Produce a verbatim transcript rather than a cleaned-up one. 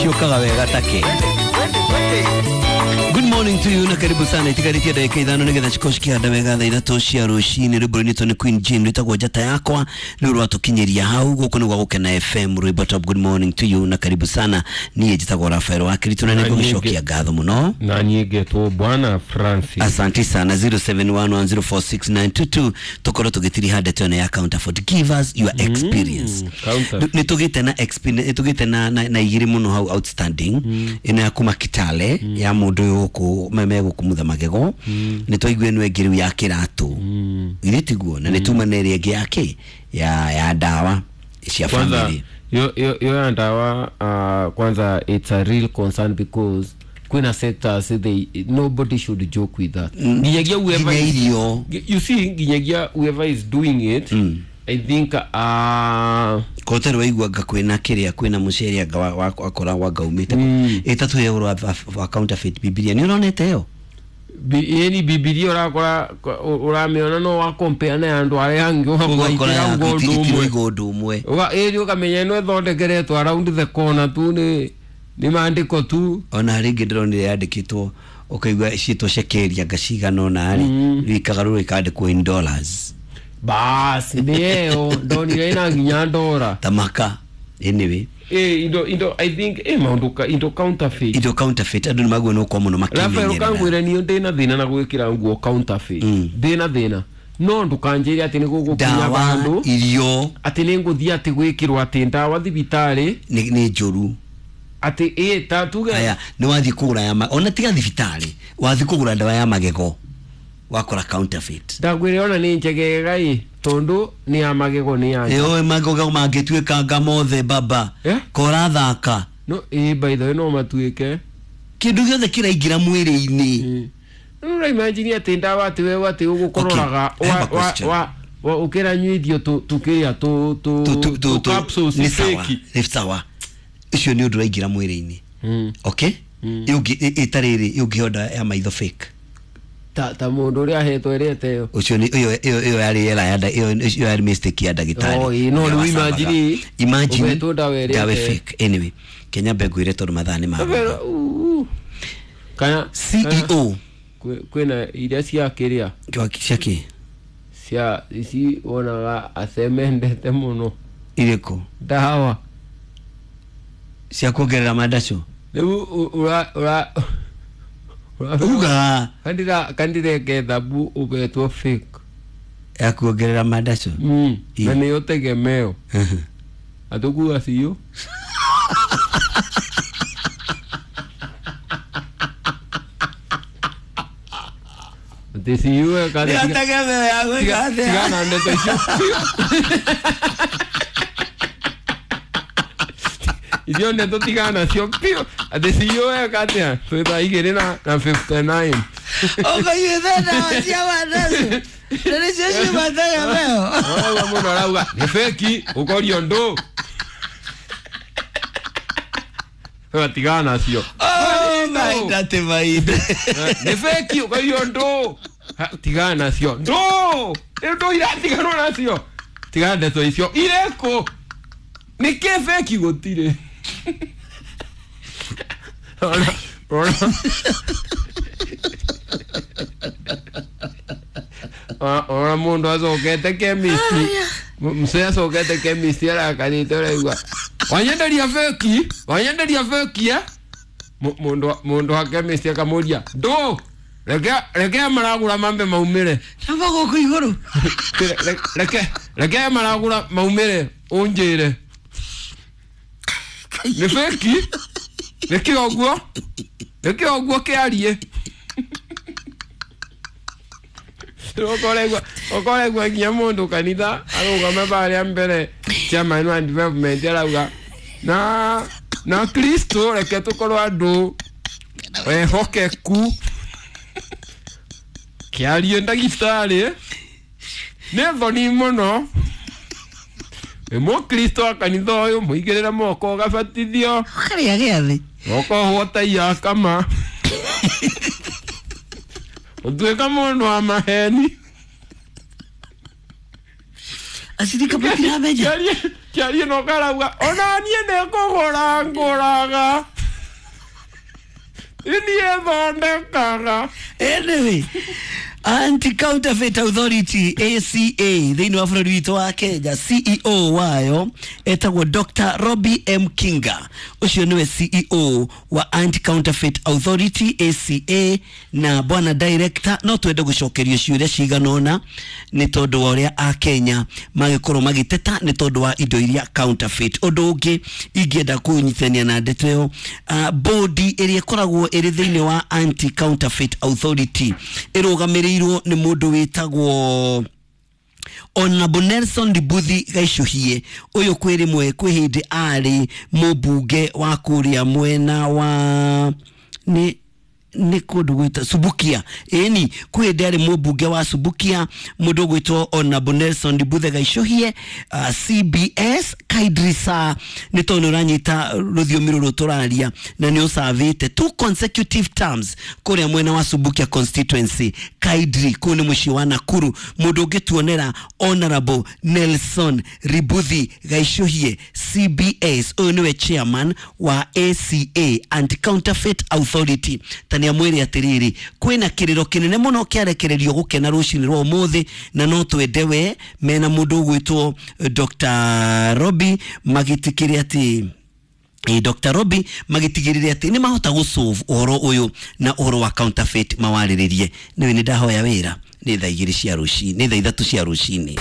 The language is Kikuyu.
Ciũkaga wega take. Good morning to you na karibu sana. Itigarĩtie ndagĩka ithano nĩgetha cikorwo cikĩhanda wega thaa ithatũ cia rũcinĩ. Rwĩmbo rũinĩtwo nĩ Queen Jane rwĩtagwo Njata Yakwa nĩ rwatũkinyĩria hau. Gũkũ nĩ gwa Gũkena F M, rwĩmbo top. Good morning to you na karibu sana. Niĩ njĩtagwo Rafael wa Kirito na nĩngũgĩcokia ngatho mũno. Na niĩ ngetwo Bwana Francis. Asante sana. Zero seven one one zero four six nine two two tũkorwo tũgĩtiriha ndeto ĩno ya counterfeit. Give us your experience. Mm, nĩ tũgĩte na experience, nĩ tũgĩte na na igĩrĩ mũno hau outstanding. Ĩno ya kuma Kitale ya mũndũ ũyũ gũkũ meme gũkũ magego. Nĩ twaigua ĩno ĩngĩ rĩu ya kĩratũ. Githĩ tiguo? Na nĩ tuma na ĩrĩa ĩngĩ yake ya ya ndawa cia family. Yo yo yo ya ndawa, uh, kwanza it's a real concern because kwina sectors they nobody should joke with that. Nginyagia whoever is, you see nginyagia whoever is doing it. Mm. I think uh kote rwaigua nga kwina kiria kwina mucere anga wakora wanga umite itatu ya uru wa counterfeit Biblia ni uronete yo yani Biblia urakora uramiona no wa compare na andu aria angi ugakora ngundu umwe uga eri ukamenya no thondekeretwo around the corner tu ni ni maandiko tu. Ona ringi ndironire yandikitwo ukaigua ciitwo shekeli anga cigana ona ri rikagarũrwo ikandikwo in dollars. Bas ndio ndonire ina nginya ndora tamaka. Anyway eh indo indo I think eh maundu ka indo counterfeit indo counterfeit andu ni maguo no kwa muno makimenyerera. Rafael kangwira ni ndina thina na gwikira nguo counterfeit ndina thina no ndukanjire ati ni gugukinya bandu irio ati ni nguthia ati gwikirwo ati ndawa thibitari ni ni njuru ati eh ta tuge aya ni wathi kugura ya ona tiga thibitari wathi kugura ndawa ya magego wakora counterfeit. Ndagwire ona ni njegega i tondu ni ya magego ni ya eh magego mangituika nga mothe baba eh? Kora thaka no eh by the way no matuike kindu giothe kiraingira mwiri-ini. No imagine ati ndawa ati wewe ati ugukororaga wa wa wa ukiranyuithio tu tukiria tu tu tu capsules ni sawa ni sawa icio ni undu raingira mwiri-ini. Okay, yungi itariri yungihonda ya maitho fake ta ta mundu uria ahetwo ĩrĩa ĩyo ucio ni iyo iyo iyo yari era ya iyo iyo yari mistake ya ndagitari. Oh no no imagine imagine uhetwo ndawa ĩrĩa ndawa fake. Anyway Kenya mbengwire tondu mathaa ni ma kana C E O kwina iria cia kiria cia ki cia ici wonaga acemendete muno iriko ndawa cia kuongerera mandaco riu ura ura uga kandira kandire kethabu ubetwo fake ya kuongerera mandaco mm na ni utegemeo atukua siyo Desiu kada ya tegemeo ya gwika tigana ndeto icio icio ndeto tigana cio pio desiu katia twĩ thaa igĩrĩ na na fifty nine ũkaiyũte ndawa cia mandaco na nĩcio ciuma tegemeo. Ũraigua mũndũ arauga nĩ feki ũkorio ndũ tigana nacio. Oh mahinda ti mahinda nĩ feki ũkorio ndũ tigana nacio ndũ nĩ ndũ iratiganwo nacio tigana ndeto icio irĩkũ nĩkĩ feki gũtirĩ. Ona ona ona mundu acokete chemist mzee acokete chemist arakarite ũraigua wanyenderia feki wanyenderia feki eh mundu mundu wa chemist akamũria ndũ reke reke maragura mambe maumire namba gũkũ igũrũ reke reke maragura maumire unjire nĩ feki nĩkĩ ũguo nĩkĩ ũguo kĩarie ũkoregwa ũkoregwa nginya mũndũ kanitha arũgame barĩa mbere chairman wa development arauga na na Kristo reke tũkorwo andũ ehokeku kĩarie ndagĩtarĩ nĩ thoni mũno wĩ mũkristo wa kanitha ũyũ mũigĩrĩre moko ũgabatithio ũkarĩa gĩathĩ ũkohwo ta yakama ũtuĩka mũndũ wa maheni acirika matiramenya kĩarie no karauga ona niĩ nĩ kũgũra ngũraga. Iniĩ thondekaga. Anyway, Anti Counterfeit Authority A C A thĩinĩ wa bũrũri witũ wa Kenya, C E O wayo etagwo Doctor Robbie M Kinga. Ũcio nĩwe C E O wa Anti Counterfeit Authority A C A. Na bwana director, no twende gũcokerio ciũria cigana ũna nĩ tondũ wa ũrĩa akenya magĩkorwo magĩteta nĩ tondũ wa indo iria counterfeit. Ũndũ ũngĩ ingĩenda kũnyitania na ndeto ĩyo, uh, bodi ĩrĩa ĩkoragwo ĩrĩ thĩinĩ wa Anti Counterfeit Authority ĩrũgamĩrĩirwo nĩ mũndũ wĩtagwo Honorable Nelson Ributhi Gaicũhie. Ũyũ kwĩ rĩmwe kwĩ hĩndĩ arĩ mũmbunge wa kũrĩa mwena wa nĩ nĩ kũndũ gwĩta Subukia. Ĩni kwĩ hĩndĩ arĩ mũmbunge wa Subukia, mũndũ ũgwĩtwo Honorable Nelson Ributhe Gaicũhie, uh, C B S Kaidrisa, nĩ tondũ nĩ ũranyita rũthiomi rũrũ tũraria na nĩ ũcavĩte two consecutive terms kũrĩa mwena wa Subukia constituency, Kaidri, kũu nĩ mũciĩ wa Nakuru. Mũndũ ũngĩtuonera Honorable Nelson Ributhi Gaicũhie C B S, ũyũ nĩwe chairman wa A C A, Anti Counterfeit Authority, ta nĩ amwĩre atĩrĩrĩ, kwĩna kĩrĩro kĩnene mũno kĩarekererio gũkena rũcinĩ rwa ũmũthĩ, na no twende we mena mũndũ ũgwĩtwo Doctor Robi magĩtĩkĩre atĩ Eh, Doctor Robi magĩtigĩrĩre atĩ nĩ mahota gũsolve ũhoro ũyũ na ũhoro wa counterfeit mawarĩrĩrie. Nĩwe nĩ ndahoya wĩra nĩ thaa igĩrĩ cia rũcinĩ, nĩ thaa ithatũ cia rũcinĩ.